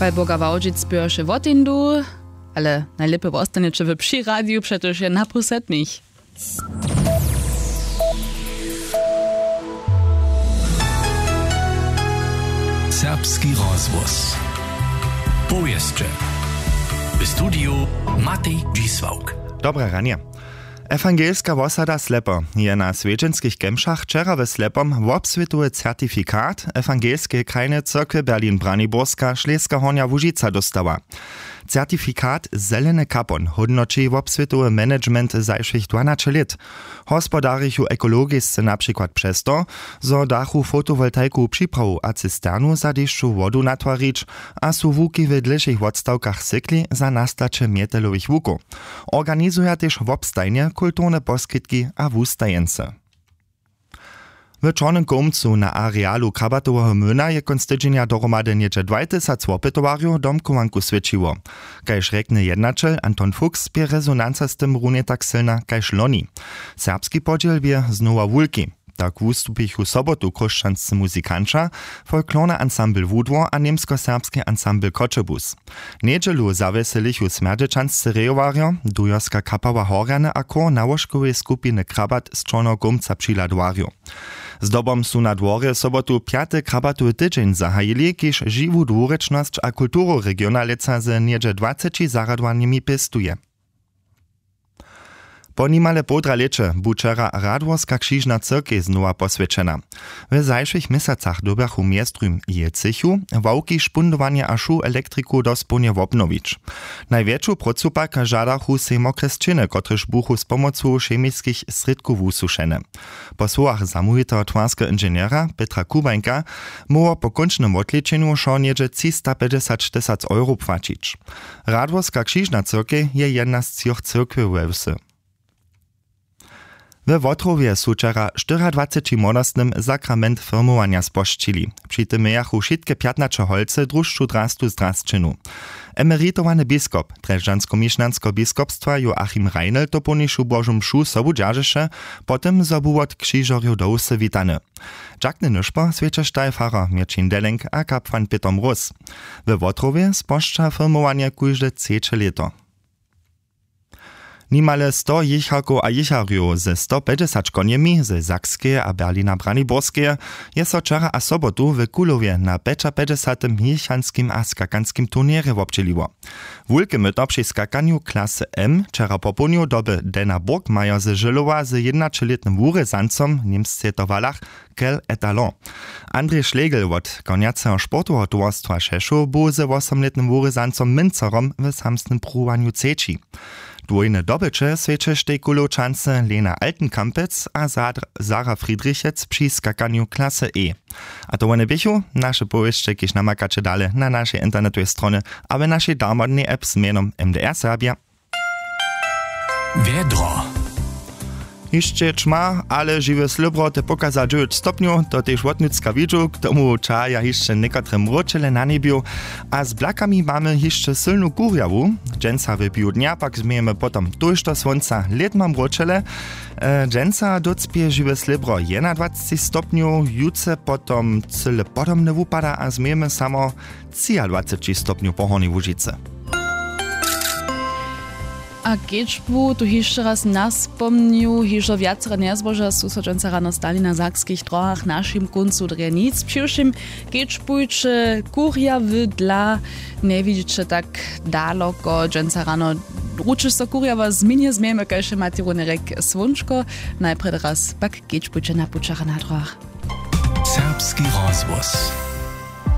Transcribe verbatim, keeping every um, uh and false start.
Pal boga wałdźic běše woteńdu, ale najlěpje wostaneće w při radiju, přetož je na pół sedmich. Serbski rozhłos. Powěsće. W studiju Matej Dźisławk. Dobre ranje. Ewangelska wosada Slepo je na swjedźenskich kemšach wčera w Slepom wobswětowy certifikat Ewangelskeje krajneje cyrkwje Berlin Braniborska Šleska Hornja Łužica dóstała. Certifikat Zeleny kapon hódnoći wobswětowy management zašłych dwanaće lět. Hospodarichu ekologisce na přikład přez to, zo dachu fotowoltaikowu připrawu a cisternu za dešćowu wodu natwarić, a su łuki w dlěšich wotstawkach sykli za nastaće mjetelowych łukow. Organizuja tež wobstajnje kulturne poskitki a wustajeńcy. W Čornym Kołmcu na arealu krabatoweho młyna je kónc tydźenja dohromady něhdźe dwaj tysac wopytowarjow domchowanku swjećiło. Kaž rjekny jednaćel Anton Fuchs, bě rezonanca z tym runje tak sylna kaž loni. Serbski podźěl bě znowa wulki. Tak wustupichu sobotu chróšćanscy muzikanća, folklorny ansambl Wudwor a němskoserbski ansambl Choćebuz. Njedźelu zawjeselichu smjerdźećanscy rejowarjo, dujerska kapała Horjany a chór nałožkoweje skupiny Krabat z Čorneho Kołmca při Ladwarju. Zdobom su na dworje sobotu pjaty krabatowy tydźeń zahajili, kiž žiwu dwurěčnosć a kulturu regiona lětsa z něhdźe dwaceći zarjadowanjemi pěstuje. Po nimale połdra lěće bu wčera Radworska křižna cyrkej znowa poswjećena. W zašłych měsacach dyrbjachu mjeztym jecychu, ławki, špundowanje a šu elektriku dospołnje wobnowić. Najwjetšu prócu pak žadachu sej mokre sćěny, kotrež buchu z pomocu chemiskich srědkow wusušene. Po słowach zamołwiteho twarskeho inženjera Petra Kubańka móhło po kónčnym wotlečenju wšo něhdźe třistapjećdźesat tysac euro płaćić. Radworska křižna cyrkej je jedna z třoch cyrkwjow we wsy. We Wotrowje su wčera štyriadwaceći młodostnym sakrament firmowanja spožčili. Při tym mějachu wšitke pjatnaće holcy drušću drastu zdrasćenu. Emeritowany biskop drježdźanskomišnjanskeho biskopstwa Joachim Reinl dopołnišu Božu mšu sobu dźeržeše, po tym zo bu wot křižerjow do wsy witany. Dźakny nyšpor swjećeštaj farar Měrćin Deleng a kapłan Pětr Mróz. We Wotrowje spožča firmowanje kóžde třeće lěto. Nimale sto jěcharkow a jěcharjow ze sto pjećdźesać konjemi ze Sakskeje a Berlina Braniborskeje je so wčera a sobotu w Kulowje na pjećapjećdźesatym jěchanskim a skakanskim turněrje wobdźěliło. Wulke myto při skakanju klasy M wčera popołdnju doby Dena Burgmeier ze Žylowa z jědnaćelětnym wurězancom w němsce to walach Quel étalon. Andrej Schlegel wot konjaceho sportoweho towarstwa Šešow bu ze wosomlětnym wurězancom Mincerom w samsnym pruwowanju třeći. Dwójne dobyće swjećeštej Kulowčance Lena Altenkampec a Zadr-, Sara Friedrichec při skakanju klasy E. A to wone běchu naše powěsće, kiž namakaće dale na našej internetowej stronje a w našej darmodnej app z mjenom M D R Serbia. Wjedro. Hišće ćma, ale žiwe slěbro te pokaza dźewjeć stopnjow, to tež wotnutřka widźu, k tomu ćahaja hišće někotre mróčele na njebju a z blakami mamy hišće sylnu kurjawu. Dźensa w biju dnja pak změjemy potom tójšto słónca, lědma mróčele. E, dźensa docpě žiwe slěbro jedynadwaceći stopnjow, jutře potom cyle podobne wupada a změjemy samo třiadwaceći stopnjow po Hornjej Łužicy. A kedźbu tu hišće raz naspomnju, hižo wjacere njezboža su so dźensa rano stali na sakskich dróhach w našim kóncu drje nic. Přiwšěm kedźbujće kurjawy dla, njewidźiće tak daloko. Dźensa rano ručeš so kurjawa změnje, změjemy kaž je Matej runje rjek słónčko. Najprjedy raz pak kedźbujće na pućach a na dróhach. Serbski rozhłos.